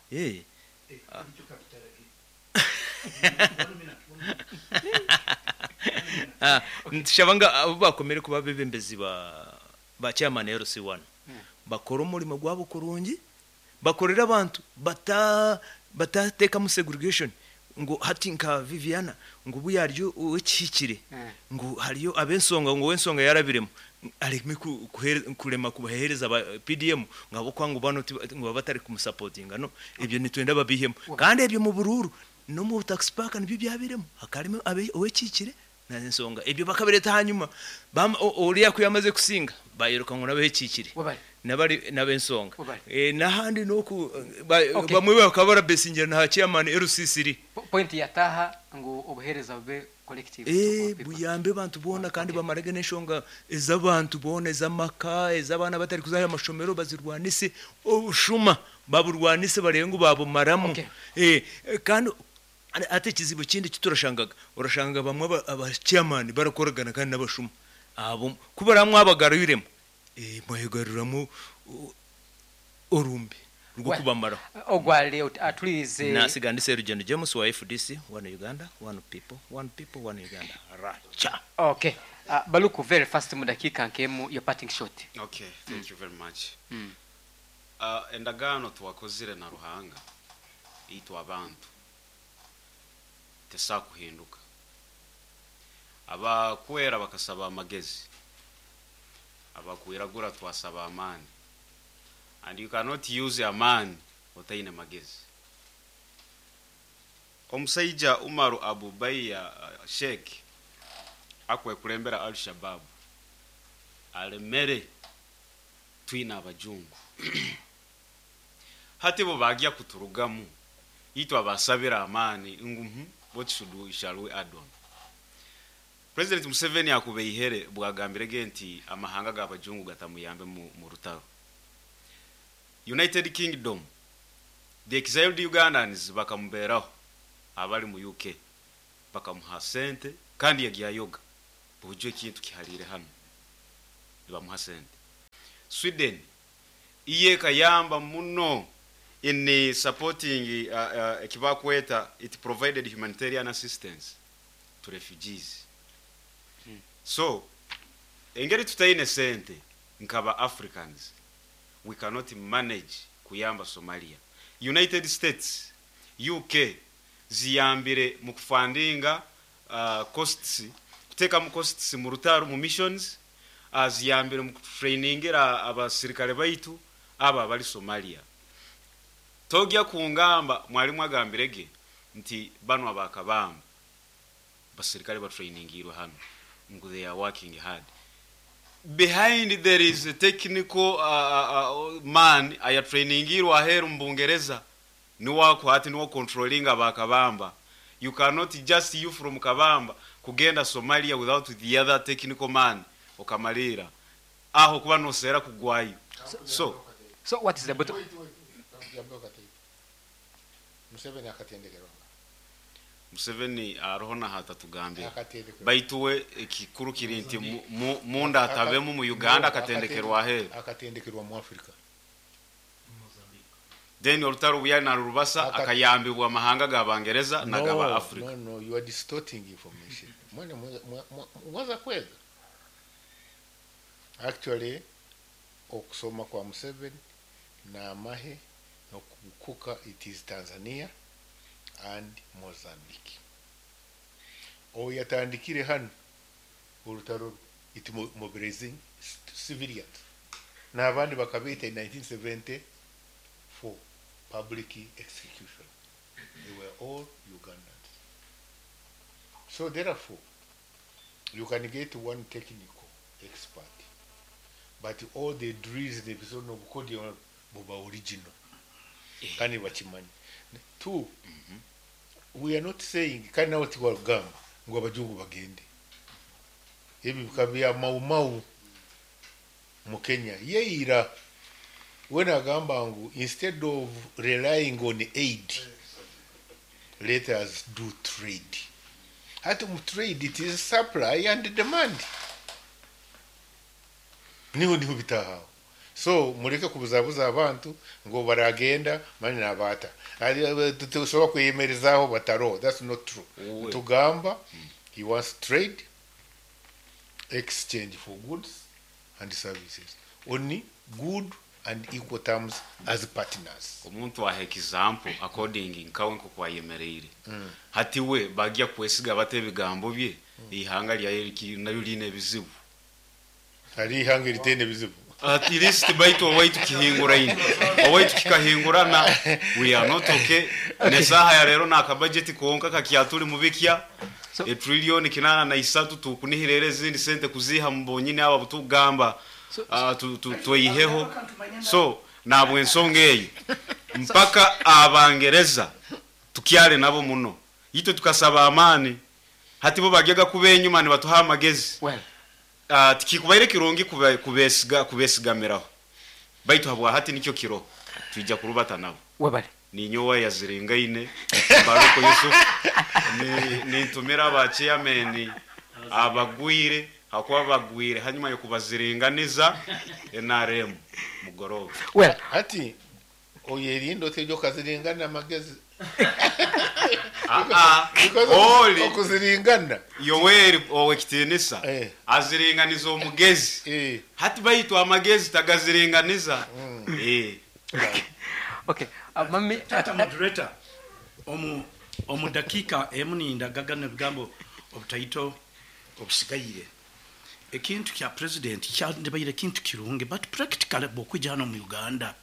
E: Nitushaba ngu abu baakomire kuba abeebembezi ba chairman LC1 bakore omurimo gwabo kurungi, bakorere abantu batateekamu segregation ngu hati nka Viviana ngu obu yaarya ow'ekihikire ngu hariyo ab'ensonga ngu ow'ensonga yaarabiremu areme kurema kubaheereza ba PDM ngu ahabw'okuba ngu banu ngu baba batari kumusapotinga no ebyo nitwenda babihemu kandi ebyo omu buruuru n'omu tax park nibyo byabairemu hakaba harimu ow'ekihikire N'ensonga ebyo bakabireeta ahanyima, oriya ku yaamaze kusinga, baayiruka ngu n'ab'ekiikire, n'ab'ensonga. N'ahandi n'oku, bamwe bakaba barabesingira na ha chairman LC3.
B: Point yataaha ngu obuheereza bube collective to all people.
E: Buyambe abantu boona kandi bamarege n'enshonga ez'abantu boona, ez'amaka, ez'abaana abatari kuza aha mashomero bazirwanise, obushuma baburwanise bareebe ngu baabumaramu. Kandi Hati ekizibu ekindi eki turashangaga, orashanga bamwe aba chairman barakoragana kandi n'abashuma. Abo ku baraba mwabagarwiremu, mwayegaruramu orumbe rw'okubamaraho.
B: Ogwo ari aturiize.
E: Nasiga ndi Serugendo James wa FDC, One Uganda, One People, One People, One Uganda. Racha!
B: Ok. Baluku very fast mu dakiika nk'emu your parting shot.
F: Ok, thank you very much. Endagaano twakozire na Ruhanga itwe abantu tesobola kuhinduka. Abakwera bakasaba amagezi, abakwiragura twasaba amaani and you cannot use amaani otaine magezi. Omusaija Umaru Abubaiya Sheikh akwekulembera Al Shabaab alemere twine abajungu. Hati bo baagya kuturugamu, itwe abaasabire amaani ngu, What should we, shall we add on? President Museveni akubeihere bwagambire ge nti amahanga g'abajungu gatamuyambe mu, mu rutaro. United Kingdom, the exiled Ugandans bakamuberaho abali mu UK bakamuha sente kandi yagyayoga bujo ekintu kiharire hano nibamuha sente. Sweden iye ekayamba muno in supporting ekibakweta it provided humanitarian assistance to refugees. So engeri tutaine sente nkaba Africans, we cannot manage kuyamba Somalia. United States, UK ziyambire mu kufundinga costs, kuteekamu costs mu rutaro mu missions, ziyambire mu kutrainingira abasirikare baitu aba abali Somalia. Togya kungamba mwalimu agambirege nti bano abakabamba basirikare batrainingirwe hano ngu they are working hard. Behind there is a technical man ayatrainingirwe aheru mu Bungereza niwako hati niwo controlling abakabamba. You cannot just you from Kabamba kugenda Somalia without the other technical man okamalira aho kuba nosera kugwayo. So
B: So what is the bottom?
A: Wait, wait, yambe kati. Museveni akatendekerwa.
F: Museveni aroho na hatatugambira
A: Akatendekerwa.
F: baituwe ekikuru kiri nti munda atabemu mu Uganda akatendekerwa aheru.
A: Akatendekerwa mu Africa.
F: Then olutaro buyali na rubasa akayambibwa amahanga g'Abangereza na g'aba Africa.
A: No, no, you are distorting information. Mwana mwaza kwega. Actually, okusoma kwa Museveni na amahe nokukuka it is Tanzania and Mozambique. Oyo yatandikire hano olutaro it mobilizing civilians n'abandi bakabeeta in 1974 public execution. They were all Ugandans. So therefore, you can get one technical expert, but all the drills the episode of code buba original. Kandi bakimanyi. Two, we are not saying kandi nawe tiwagamba ngo abajungu bagende. Ebi bikaba bya Mau Mau mu Kenya. Yeira we nagamba ngu instead of relying on aid, let us do trade. Ati mu trade it is supply and demand. Niho niho bitahawe. So mureke kubuzabuza abantu ngo baragenda mani nabata. Tushobora kweyemerezaho bataro. That's not true.
F: Uwe.
A: Tugamba he wants trade, exchange for goods and services on good and equal terms as partners.
F: Omuntu aha example according nkawe nko kwayemereire hati we bagya kwesiga bate ebigambo bye ihanga lya naryo line ebizibu.
A: Hari ihanga ritene ebizibu.
F: At least baitu owaitu kihinguraine owaitu kikahingurana we are not okay. Nesaha ya rero naka budget konka kakyatuli mubikya
B: So-
F: e trillion 83 tukunihirere ezindi sente kuziha mbonyine aba butugamba
B: So-
F: tweyiheho. So nabwe ensonga eyo mpaka abangereza tukyale nabo muno itwe tukasaba amani hati bo bagyaga kuba enyuma nibatuha amagezi.
B: Well,
F: Tikikubaire kirungi kubesiga kubesigamiraho baitu habwa hati nikyo kiro twijja kurubata nabo.
B: Webale.
F: Ninyowa yaziringaine Baruko Yusuf nintumira aba chairman abagwire hakuba bagwire hanyuma yo kubaziringaniza NRM mugoroba.
B: Well,
A: ati oyerindo tejo kaziringana amagezi. Because
F: Oli
A: okuziringana
F: Yoweri owekitinisa aziringaniza omugezi. Hati baitu amagezi tagaziringaniza.
B: Okay. Mami,
C: Tata moderator, omu dakika emu nindagaga ebigambo obutaito obusigaire. Ekintu kya president kyandibaire kintu kirungi, but practically bw'okwija hano mu Uganda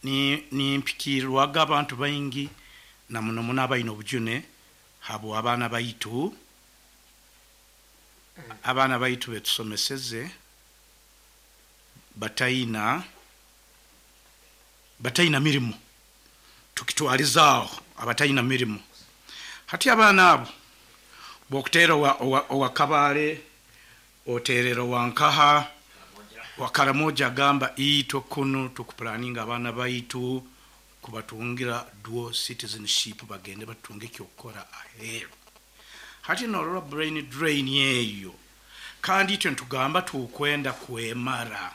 C: ni mpikirwaga abantu baingi na muno muno abaine obujune habo abaana baitu betusomeseze bataina mirimu, tukitwalizaaho abatayina mirimu. Hati abaana abo Bw'okuteera owa, owa, owa Kabale, oteerera owa Nkaha, wa Karamoja agamba itwe kunu tukupulaninga abaana baitu kubatungira dual citizenship bagende batunge eky'okukora aheeru. Hati norora brain drain eyo, kandi itwe nitugamba tukwenda kwemara.